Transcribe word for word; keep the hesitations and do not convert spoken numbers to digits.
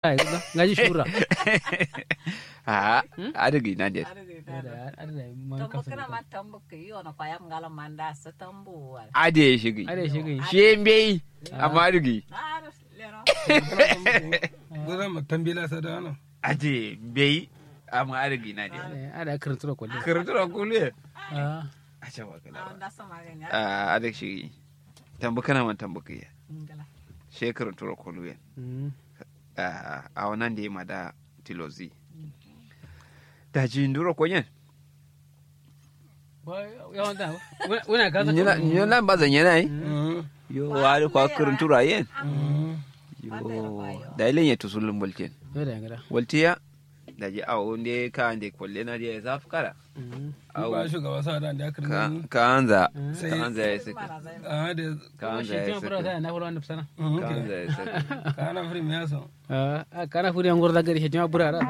Ngaji shura. Aha. Adǝ gǝi nande. Tambu kǝna man tambu kǝyi wono kwayam ngala manda sǝ tambu wal. Ade shigi. Ade shigi. Shiye mbeyi. Amma adǝ gǝyi. Gozan ma tambila sadano. Ade mbeyi. Amma adǝ gǝyi nande. Ada kǝrǝnturo kulle. Kǝrǝnturo kulle. Aca wakala. Adǝ shigi. Tambu kǝna man tambu kǝyi. She kǝrǝnturo kulle. Awo nande ma da tilozi. Daji nduro konyen. Nyina lan ba zanyena yi. Yo wari kwa kǝrǝnturo ayen. Yo. Dayi lenye tusulun bultin. Waltiya. Daji awo nde ka nde kolle na diya zaf kara. Awo shugaba sa da nda kǝrǝnturo. Kanza. Kanza ya saka. Kanza ya saka. Kanza ya saka. Kana furi miya so. Kana furi angor da gari shetima burara.